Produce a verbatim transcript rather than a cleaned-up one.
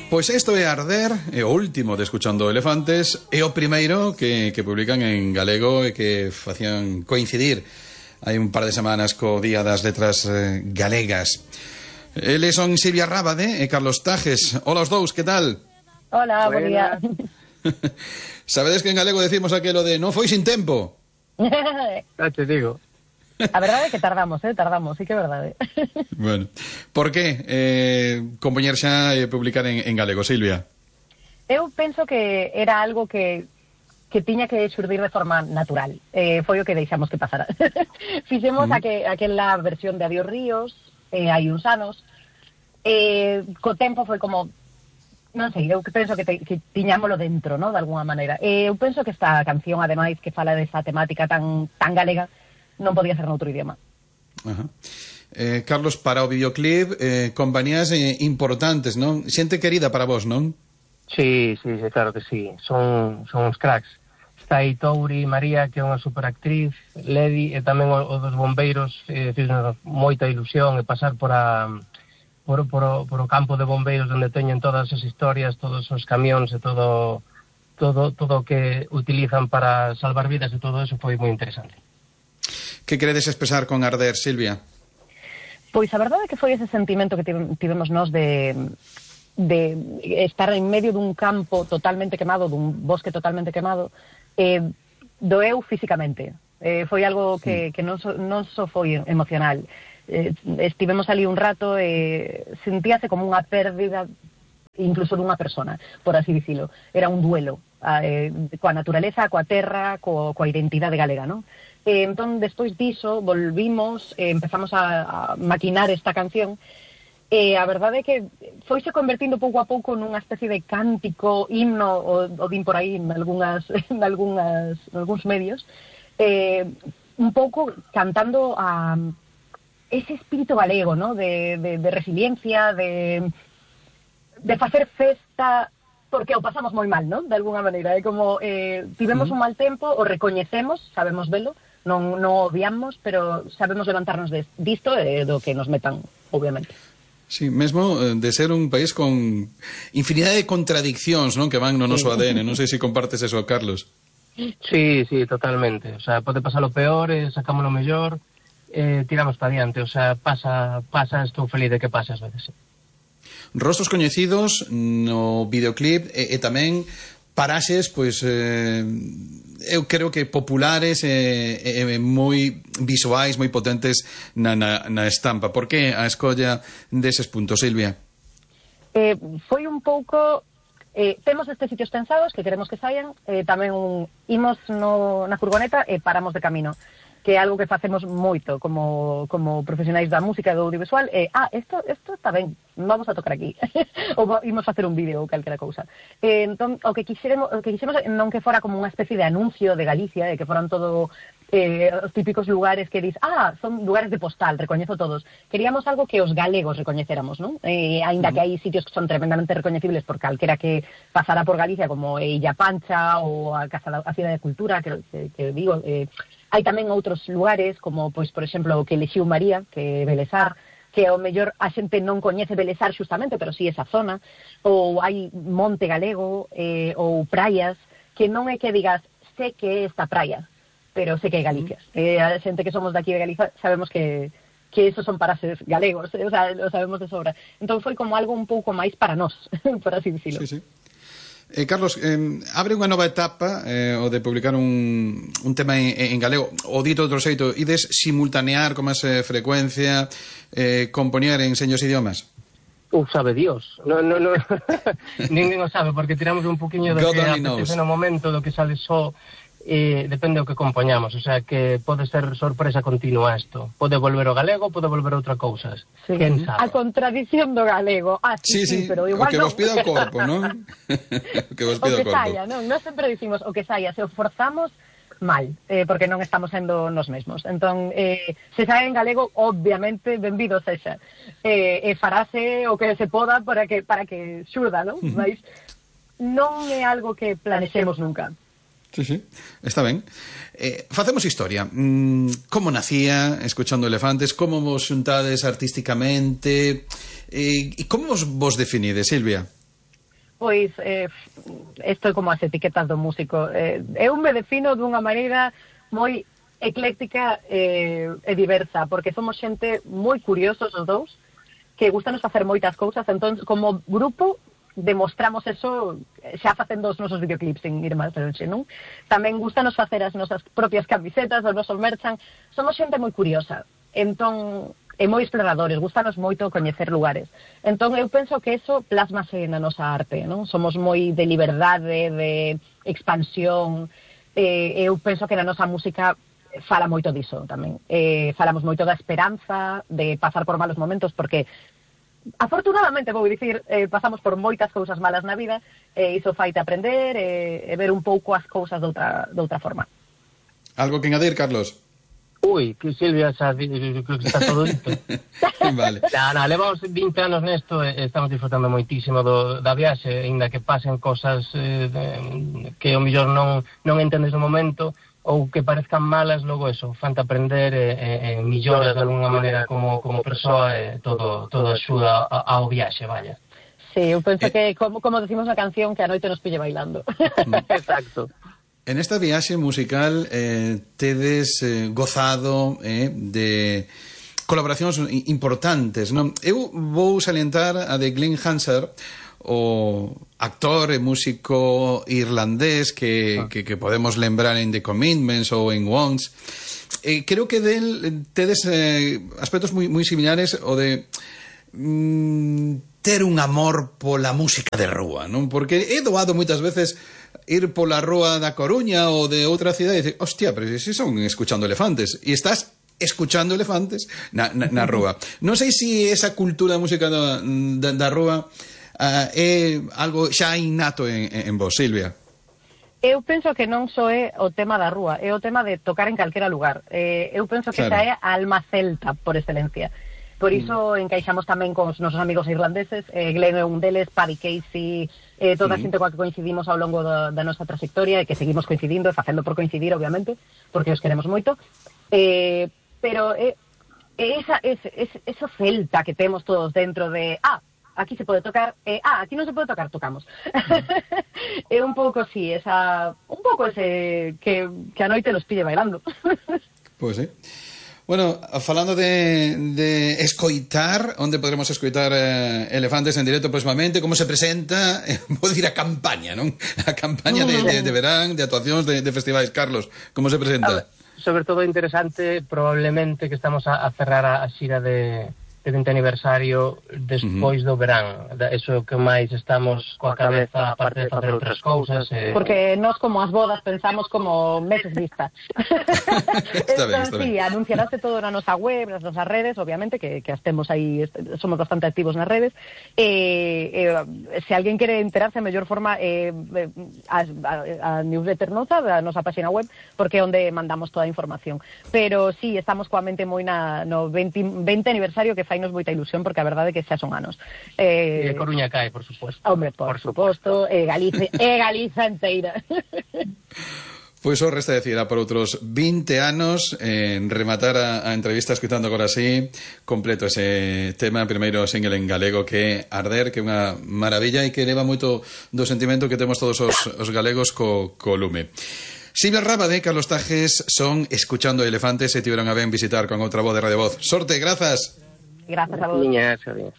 Pois isto é Arder, é o último de Escuchando Elefantes, é o primeiro que, que publican en galego e que facían coincidir hai un par de semanas co Día das Letras eh, Galegas. Eles son Silvia Rábade e Carlos Tajes. Hola os dous, que tal? Hola, buen día. Sabedes que en galego decimos aquelo de non foi sin tempo? Ya te digo. A verdade é que tardamos, eh, tardamos, sí que é verdade. Bueno, por que eh, compoñer xa e publicar en, en galego, Silvia? Eu penso que era algo que que tiña que xurdir de forma natural. Eh, foi o que deixamos que pasara. Fixemos mm. aqu aquela versión de Adiós Ríos, eh, hai uns anos, eh, co tempo foi como, non sei, eu penso que, te, que tiñámolo dentro, ¿no?, de alguna maneira. Eh, eu penso que esta canción, ademais, que fala desa temática tan, tan galega, non podía ser noutro idioma. Ajá. Eh, Carlos, para o videoclip, eh, compañías eh, importantes, non? Xente querida para vos, non? Sí, sí, sí, claro que sí. Son, son uns cracks. Está aí Touri, María, que é unha superactriz, Ledi, e tamén o, o dos bombeiros, eh, fixenos moita ilusión e pasar por a... Por, por, o, por o campo de bombeiros onde teñen todas as historias, todos os camións e todo todo todo o que utilizan para salvar vidas e todo eso foi moi interesante. Que queredes expresar con Arder, Silvia? Pois a verdade é que foi ese sentimento que tivemos nós de, de estar en medio dun campo totalmente quemado, dun bosque totalmente quemado, eh, doeu físicamente. Eh, foi algo que, que non, so, non só foi emocional. Eh, estivemos ali un rato e eh, sentíase como unha pérdida incluso dunha persona, por así dicilo. Era un duelo eh, coa naturaleza, coa terra, co, coa identidade galega, non? Eh, entón, despois diso, volvimos, eh, empezamos a, a maquinar esta canción, e eh, a verdade é que foise convertindo pouco a pouco nunha especie de cántico, himno, o, o din por aí en algunhas, en algunhas, en algúns medios, eh, un pouco cantando a ese espírito galego, ¿no?, de, de, de resiliencia, de, de facer festa, porque o pasamos moi mal, ¿no?, de alguna maneira. É como, eh, tivemos un mal tempo, o recoñecemos, sabemos velo, non, non odiamos, pero sabemos levantarnos de, disto e do que nos metan, obviamente. Sí, mesmo de ser un país con infinidade de contradiccións, non, que van no noso A D N. Non sei se compartes eso, Carlos. Sí, sí, totalmente. O sea, pode pasar o peor e sacamos o mellor, eh, tiramos para diante. O sea, pasa, pasa, estou feliz de que pase ás veces. Rostros coñecidos no videoclip e, e tamén paraxes, pois, eh, eu creo que populares e, e, e moi visuais, moi potentes na, na, na estampa. Por que a escolla deses puntos, Silvia? Eh, foi un pouco... Eh, temos estes sitios pensados que queremos que saian, eh, tamén un, imos no, na furgoneta e paramos de camino, que é algo que facemos moito como, como profesionais da música e do audiovisual. Eh, ah, isto está ben, vamos a tocar aquí. Ou imos facer un vídeo ou calquera cousa. Eh, entón, o que quixemos, o que quixemos non que fora como unha especie de anuncio de Galicia, de que foran todo eh, os típicos lugares que dis, ah, son lugares de postal, recoñezo todos. Queríamos algo que os galegos recoñeceramos, non? Eh, ainda que hai sitios que son tremendamente recoñecibles por calquera que pasara por Galicia, como eh, Illa Pancha ou a Casa da a Cidade de Cultura, que, que, que digo... Eh, hai tamén outros lugares, como, pois, por exemplo, o que elixiu María, que é Belesar, que ao mellor a xente non coñece Belesar xustamente, pero sí esa zona, ou hai Monte Galego, eh, ou praias, que non é que digas, sé que é esta praia, pero sé que é Galicia. Eh, a xente que somos daqui de Galicia sabemos que, que esos son paraxes galegos, eh, o sea, lo sabemos de sobra. Entón foi como algo un pouco máis para nós, por así dicilo. Sí, sí. Eh, Carlos, eh, abre unha nova etapa eh, o de publicar un, un tema en, en galego, o dito outro xeito, ides simultanear con máis eh, frecuencia, eh, compoñer en seños idiomas? Uh, sabe Dios. No, no, no. Ninguén o sabe, porque tiramos un poquinho do God que only apetece knows. no momento, do que sale só, eh, depende do que compoñamos. O sea, que pode ser sorpresa continua isto. Pode volver o galego, pode volver outra cousa. Sí. Quen sabe? A contradición do galego. Ah, sí, Sí, sí, sí, pero igual o que non. vos pida o corpo, non? O que vos O pida o que corpo. saia, non? Nós sempre dicimos o que saia, se o forzamos mal, eh, porque non estamos sendo nos mesmos. Entón, eh, se sae en galego, obviamente, benvido sexa. Eh, e farase o que se poda para que para que xurda, non? Mas non é algo que planexemos nunca. Sí, sí, está ben. Eh, facemos historia. Mm, como nacía Escuchando Elefantes? Como vos xuntades artísticamente? Eh, e como vos, vos definides, Silvia? Pois, eh, isto é como as etiquetas do músico. Eh, eu me defino dunha maneira moi ecléctica eh, e diversa, porque somos xente moi curiosos os dous, que gustanos facer moitas cousas, entón, como grupo, demostramos eso xa facendo os nosos videoclips sin ir máis longe, non? Tamén gustanos facer as nosas propias camisetas, os nosos merchan. Somos xente moi curiosa, entón... e moi exploradores, gustanos moito coñecer lugares. Entón, eu penso que eso plasmase na nosa arte, non? Somos moi de liberdade, de expansión, eh, eu penso que na nosa música fala moito diso tamén. Eh, falamos moito da esperanza, de pasar por malos momentos, porque afortunadamente, vou dicir, eh, pasamos por moitas cousas malas na vida, e iso faite aprender e, e ver un pouco as cousas de outra, de outra forma. Algo que engadir, Carlos? Ui, que Silvia xa creo que está todo dito. Vale. Na, na, levamos vinte anos nesto e estamos disfrutando moitísimo do, da viaxe, ainda que pasen cosas eh, de, que o mellor non, non entendes no momento ou que parezcan malas, logo eso, fante aprender e, e, e milloras de alguna maneira como, como persoa e todo, todo axuda ao viaxe, vaya. Sí, eu penso eh... que, como, como decimos na canción, que a noite nos pille bailando. Exacto. En esta viaxe musical eh, tedes eh, gozado eh, de colaboracións importantes, non? Eu vou salientar a de Glenn Hansard, o actor e músico irlandés que, ah. que, que podemos lembrar en The Commitments ou en Once. Eh, creo que del tedes eh, aspectos moi, moi similares o de mm, ter un amor pola música de rúa, non? Porque he doado moitas veces ir pola rúa da Coruña ou de outra cidade e dicir, hostia, pero si son escuchando elefantes, e estás escuchando elefantes na, na, na rúa. Non sei se si esa cultura da música da, da, da rúa uh, é algo xa innato en, en vos, Silvia. Eu penso que non só é o tema da rúa, é o tema de tocar en calquera lugar. Eh, eu penso que claro. Xa é a alma celta por excelencia. Por iso mm. encaixamos tamén con os nosos amigos irlandeses, eh, Glenn é un deles, Paddy Casey, eh, toda a xente coa que coincidimos ao longo da, da nosa trayectoria e que seguimos coincidindo e facendo por coincidir, obviamente, porque os queremos moito. Eh, pero é eh, esa, ese, ese, esa celta que temos todos dentro de, ah, aquí se pode tocar, eh, ah, aquí non se pode tocar, tocamos. Mm. É un pouco, sí, esa, un pouco ese que, que a noite nos pille bailando. Pois pues, sí. Bueno, falando de, de escoitar, onde podremos escoitar eh, Elefantes en directo próximamente, como se presenta, eh, vou dicir a campaña, non? A campaña de, de, de verán, de actuacións, de, de festivais. Carlos, como se presenta? Sobre todo interesante, probablemente que estamos a, a cerrar a, a xira de, de vinte aniversario despois uh-huh. do verán. Eso que máis estamos coa cabeza, aparte de facer outras cousas. Eh... Porque nós, como as bodas, pensamos como meses vista. Está ben, está sí, ben. anunciarase todo na nosa web, nas nosas redes, obviamente, que, que as temos aí, somos bastante activos nas redes. Eh, eh, se alguén quere enterarse, a mellor forma eh, a, a, a newsletter nosa, da nosa página web, porque é onde mandamos toda a información. Pero sí, estamos coa mente moi na, no vinte, vinte aniversario, que fainos moita ilusión, porque a verdade é que xa son anos. Eh, e Coruña cae, por suposto. Hombre, por, por suposto, e Galiza, e Galiza enteira. Pois o resta decir, por outros vinte anos, en rematar a, a entrevista escutando agora así, completo ese tema, primeiro single en galego, que é Arder, que é unha maravilla e que leva moito do sentimento que temos todos os, os galegos co, co lume. Silvia Rábade, Carlos Tajes son Escuchando Elefantes e tiveron a ben visitar con outra voz de Radio Voz. Sorte, grazas. Gracias a vos. Niñas, adiós.